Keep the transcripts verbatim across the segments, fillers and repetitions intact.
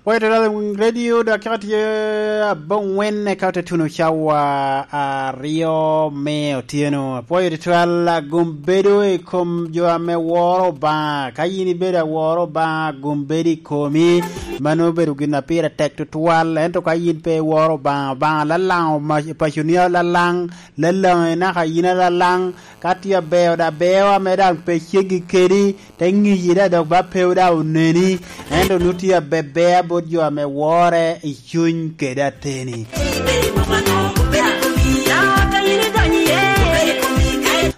Pwoyo tutwal i radio, dakika tye aboŋwen eka ote tuno cawa aryo me otyeno. Apwoyo tutwal agom bedo i kom jo ame woro Obaŋa. Ka yin ibedo aworo Obaŋa, agom bedo i komi. Mano obedo gin a pire tek tutwal, ento ka yin pe iworo Obaŋa, Obaŋa lalaŋo ma-, paconi alalaŋ, lalaŋi naka yin alalaŋ, ka tye abeo da beo ame daŋ pe ceggi kedi, te ŋiyi da dok ba pewu da oneni, ento nu tye abebea bot jo ame wore i cuny kede ateni.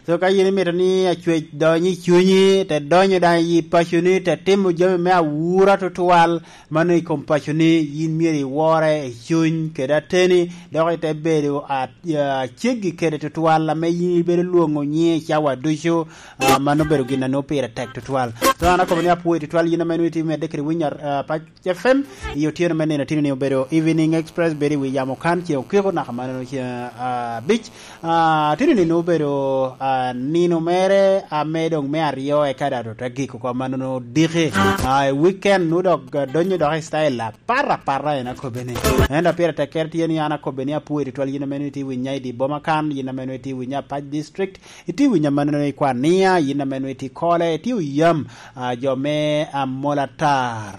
So ka yin imito ni acwec dony i cunyi, te donyo daŋ i paconi, te timo jami me awura tutwal, mano i kom paconi, yin myero iwore i cuny kede ateni, dok ite bedo a-, a-, aceggi kede tutwal ame yin ibedo lwoŋo nyiŋe i cawa ducu. Ah, mano obedo gin a nwoŋo pire tek tutwal. So, an akobo ni apwoyo tutwal yin ame nwoŋo itye medde kede winyo, ah, Pac F M. I otyeno me nino tino ni obedo Evening Express, bedo i wi yamo kan, ce okiko naka mano ce, ah, abic. Ah, tino ni nwoŋo obedo, ah, nino mere ame doŋ me aryo eka daŋ ote gik oko, mano nwoŋo diki. Ah, i weekend nwoŋo dok, ah, donyo dok i style apar apar en akobbe ni. Ento pire tekkere tye ni an akobbe ni apwoyo tutwal yin ame nwoŋo itye winya i di boma kan, yin ame nwoŋo itye winya Pac District, itye winyo amannono i Kwania, yin ame nwoŋo itye i Kole, itye oyam, ah, jo me Amolatar.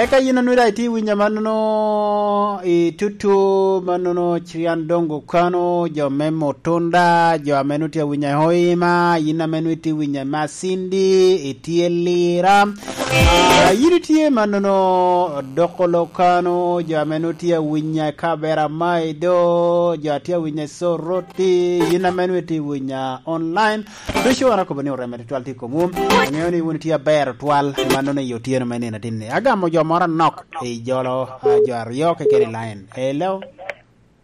Eka yin a nwoŋo daŋ itye winyo amannono i Tutu, mannono Cirian Dongo Kano, jo me Mutunda, jo ame nwoŋo tye awinyo i Hoima, yin ame nwoŋo itye winyo i Masindi, itye Lira. Ah, yin itye mannono Dokolo Kano, jo ame nwoŋo tye awinyo i Kabera Maido, jo a tye awinyo i Soroti, yin ame nwoŋo itye winyo online. Ducu an akobo ni oreme tutwal tye i komwu. Aŋeo ni wun itye aber tutwal, mannono i otyeno me nino atinni. Agamo jo moro anok i jolo, ah, jo aryo keken i line. Hello?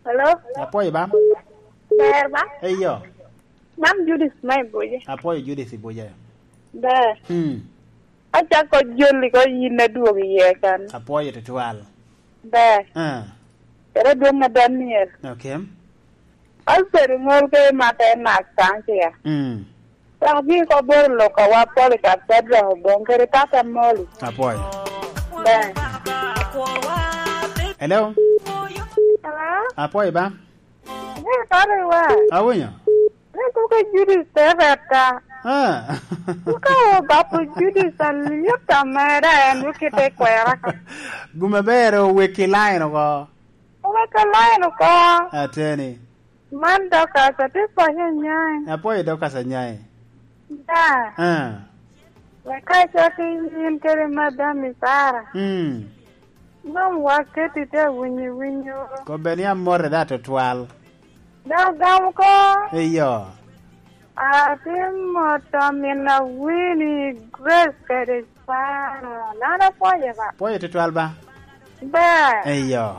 Hello? Apwoyo ba? Ber ba? Eyo. Man Judith ma i Buja. Apwoyo Judith i Buja. Ber. Hmm. Acako joli ko yin adwogo iye kan. Apwoyo tutwal. Ber. Ah. Kede adwoŋ a Daniel. Okay. Alfred Ŋol ke mata en nak kan cia. Mm. Dok bi ko boro loka wa Polycarp Shadrack Obong kede Tata Moli. Apwoyo. Ber. Hello? Hello? Apwoyo ba? Ni Tata wa. Awinyo? Ni kuke Judith te retta. Ah. Kuka obapo Judith alyet ameda en wekite kwera ka. Guma ber oweki line oko. Oweki line oko. Ateni. Man Dorcas, atye pwonyo Anyai. Apwoyo Dorcas Anyai. Da. Ah. Wek ka icako in kede madam i Sara. Mm. Mom waketi te winyo winyo. Kobbe ni amote da tutwal. Dok gamo ko. Eyo. Atimo to min awini Grace kede Sara. Lan apwoye ba. Pwoyo tutwal ba? Ba. Eyo.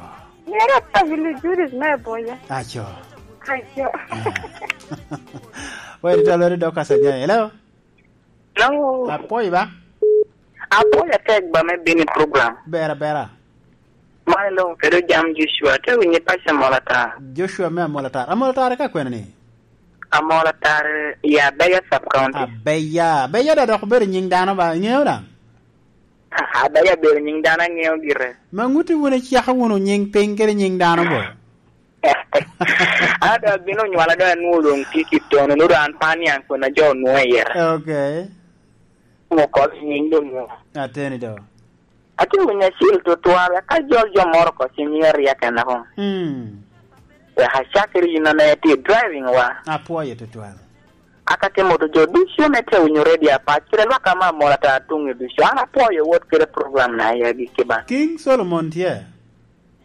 Mira pagili Judith me boya. Aco. Aco. Pwoyo tutwal weri Dorcas Anyai. Hello? Hello. Apwoyo ba? Apwoyo atek ba me bini program. Bera, bera. Man lo kede jam Joshua, te winye pac Amolatar. Joshua me Amolatar. Amolatar ka kwene ni? Amolatar ya Abeya sub county. Abeya. Abeya da dok bedo nying dano ba? Ingeo da? Abeya bedo nying dano, angeo gire. Ma nguti wun icako wunu nying piny kede nying dano bo? Ada bino nywala do anwo dong tye ki tono, no do an pa niang kona jo nwo yera. Okay. Mo kol nying do nwo. Ateni do. Ati winyo acil tutwal, ka jol jo moro ko cing yeri ya kena ko. Hmm. Ya hachakiri yino na yati driving wa. Apwoyo tutwal. Aka ke moto jo ducu me te winyo radio apac, kire lwak ama mola ta tung i ducu. Ana apwoyo wot kire program na ya gi kiba. King Solomon tye.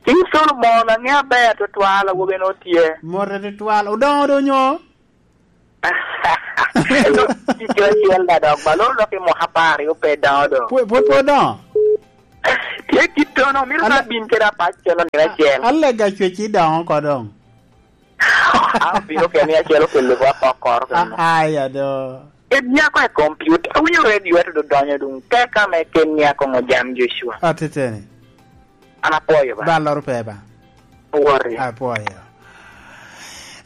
King Solomon, ang'e aber tutwal, awobe no tye. Mote tutwal. Odoŋo do nyo? Tic acel da dok, ba loro dok i mwaka apar aryo pe doŋo do. Pwod, pwod, pwod doŋo? Tye kit tono, mito ka bin kede apac celo nino acel. Alega cweci doŋo ko doŋ. An obino keni acel okelo wa kokoro keno. Aya do. Ken nyako e computer, awinyo radio ate do donyo dong. Teka me ken nyako mo jam Joshua. Ateteni. An apwoyo ba. Ba loro pe ba. Owori. Apwoyo.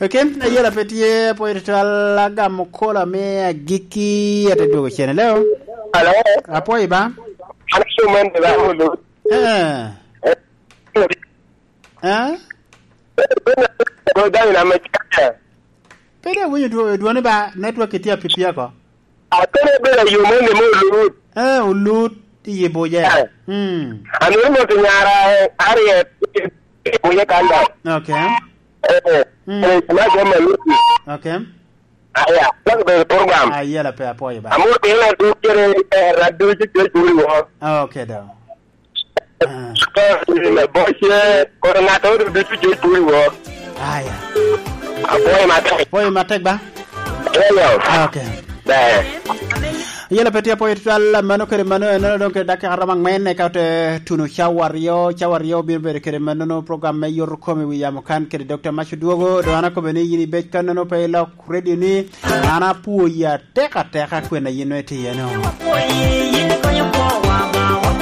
Okay, ayela pe tye, apwoyo tutwal, agamo kola me agiki, ate dwogo cene. Hello? Hello? Apwoyo ba. An aco man de ba olo. Eh. Eh. Eh? Go down in America. Pede awinyo dwo-, dwoni ba network itye apipia ko. Akene bedo ayo man de mo lut. Eh, olut i Abuja. Eh. Hmm. Amiyo mot nyara, eh, Harriet, i Abuja kan da. Okay. Eh, eh, Hmm. eh, ma jo ma lut. Okay. Aya, wan bedo program. Ah, yela pe apwoyo ba. Amor piny na duk kede, eh, radio ci George Wuri wo. Ah, okay, do. Ah. Eh, me boche, kono ng'ato odo ducu George Wuri wo. Aya. Apwoyo matek. Apwoyo matek ba? Eyo. Ah, okay. Ber. Yela pe tye apwoyo tutwal, mano kede mano, eno dong kede dakika romo angwen, eka ote tuno cawa aryo, cawa aryo obino bedo kede manono program me Yot Kom i wi yamo kan kede Doctor Mac Odwogo, dong an akobo ni yin ibed kannono pe ilok radio ni, an apwoyi atek ateka kwena yin nongo itye iye no.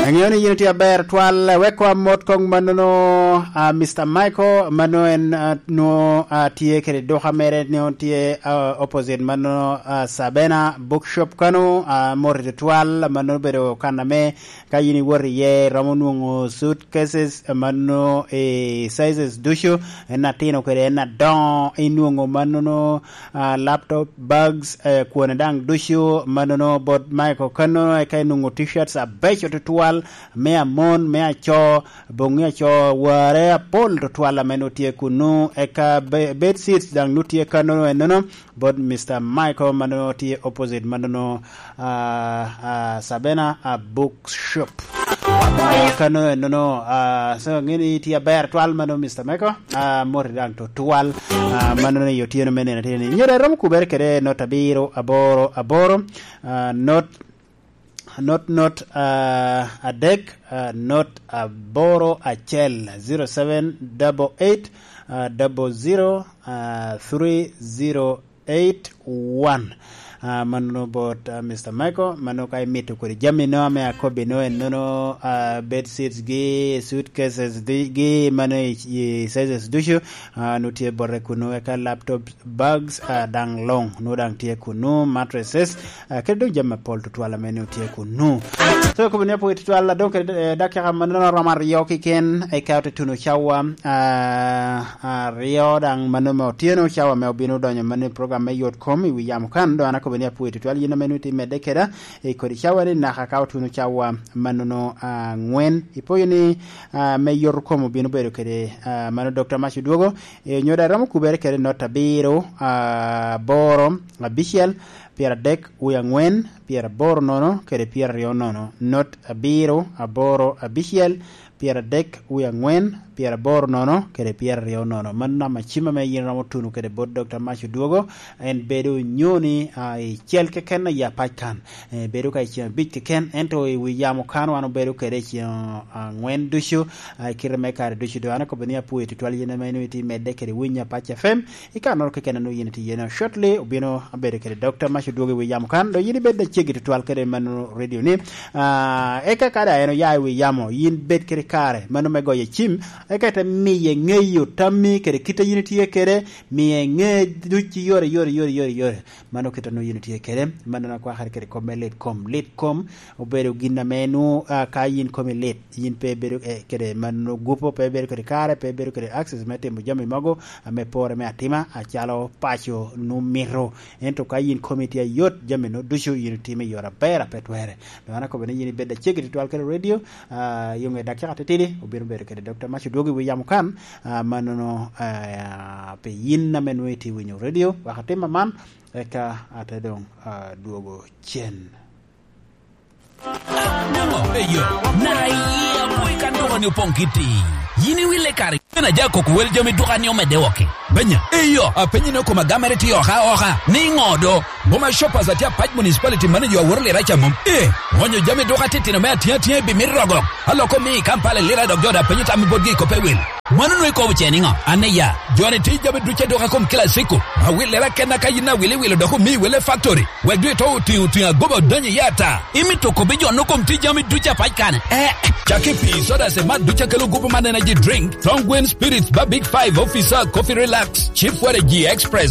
Aŋeo ni yin itye aber twal, wek wa mot kong mannono, ah, Mister Michael, mano en, ah, nwo, ah, tye kede duka mere, nwo tye, ah, opposite mannono, ah, Sabena Bookshop kano, ah, mot tutwal, mano obedo kan ame ka yin iwot iye, iromo nwoŋo suitcases, eh, mano i sizes ducu, en atino kede en adoŋo, inwoŋo manono, ah, laptop, bags, eh, kwone daŋ ducu, manono bot Michael kano, eka inwoŋo t-shirts abeco tutwal, me amon, me aco, boŋŋi aco, warre apol tutwal ame nwoŋo tye kunu, eka be-, bed sheets daŋ nwoŋo tye kano enono, bot Mister Michael ma nongo tye opposite ma nongo, ah, ah, Sabena, ah, Bookshop. Ah, kano enono, ah, so, ŋeni tye aber twal ma nongo Mister Michael, ah, moti daŋ tutwal, ah, ma nongo i otyeno me nino atye ni. Nyere romo kubere kede not abiro aboro aboro, ah, not not, not, ah, adek, ah, not aboro acel, zero seven double eight, ah, double zero, ah, three zero eight one. Ah, mano bot, ah, Mister Michael, mano ka imito kodi jami no ame akobbi no, en nono, ah, bed sheets gi, suitcases di-, gi, mano i, i sizes ducu, ah, nutye bote kunu, eka laptop, bags, ah, daŋ luŋ, nwo daŋ tye kunu, mattresses, ah, kede dong jami apol tutwal ame nwo tye kunu. So, kobo ni apwoyo tutwal, adong kede, eh, dakika mannono romo aryo keken, eka ote tuno cawa, ah, aryo daŋ mannono me otyeno, cawa me obino donyo mannono i program me Yot Kom i wi yamo kan, dong an akobo ni apwoyo tutwal, yin ame nwo itye medde keda, i kodi cawa ni naka ka otuno cawa mannono, ah, angwen. Ipoyo ni, ah, me Yot Kom obino bedo kede, ah, mano Doctor Mac Odwogo, eh, nyo daŋ romo kubere kede not abiro, ah, aboro, abicel, pyeradek wie angwen, pyeraboro nono, kede pyeraryo nono, not abiro, aboro, abicel, pyeradek wie angwen, pyeraboro nono, kede pyeraryo nono. Mano namba cim ame yin romo tuno kede bot Doctor Mac Odwogo, en bedo nyoni, ah, i cel keken aye apac kan. Eh, bedo ka i ceŋ abic keken, ento i wi yamo kan wan obedo kede i ceŋ angwen ducu, ah, i kite me kare ducu. Dong an akobo ni apwoyo tutwal yin ame nwo itye medde kede winyo Apac F M, i kannono keken a nwo yin itye iye no. Shortly, obino abedo kede Doctor Mac Odwogo i wi yamo kan, dong yin ibed aceggi tutwal kede mano radio ni. Ah, eka ka daŋ en oya i wi yamo, yin bed kede kare, mano me goyo cim, eka ite miye ŋeyo tammi kede kit a yin itye kede, miye ŋe duc i yore, yore, yore, yore, yore. Mano kit a nwo yin itye kede, mano na kwakere kede kom me lit kom. Lit kom obedo gin ame nwo, ah, ka yin komi lit, yin pe ibedo, eh, kede mano gupo, pe ibedo kede kare, pe ibedo kede access me timo jami mogo ame pore me atima, acalo paco nwo mito. Ento ka yin komi tye ayot, jami nwo ducu yin itimo i yore aber a pe twere. Dong an akobo ni yin ibed aceggi tutwal kede radio, ah, i ŋe dakika titidi, obino bedo kede Doctor Mac Odwogo i wi yamo kan, ah, manono, ah, pi yin ame nwo itye winyo radio, wek atim aman, eka ate dong, ah, dwogo cen. Eyo, na iya boy kan dogoni opoŋ kiti. Yin iwille kare, yin aja koko wel jami dukani omedde oke. Benya, eyo, apenyi ni okoma gamere tye oka oka, ni ŋo do? Boma Shoppers atye Apac Municipality Manager aworo lira ca mom. Eh, onyo jami duka titino me atiŋ atiŋ i bimit rogo. Aloko mi i Kampala i lira dok jo da penyo tam i botgi i koppe wil. Mano nwe ikobo ce niŋo? An iya, joni tye jami duc aduka kom kila ciko. Awillere akenna ka yin awil iwilo dok omi wele factory. Wek dwe to otiŋo otiŋo agoba odonyo iye ata. Imito kobbi jo no kom tye jami duc apac kane? Eh, cak i pii, soda, cemat duc akelo gupu man energy drink, Tongue Spirits, ba Big Five, Officer, Coffee Relax, Chief Waragi Express,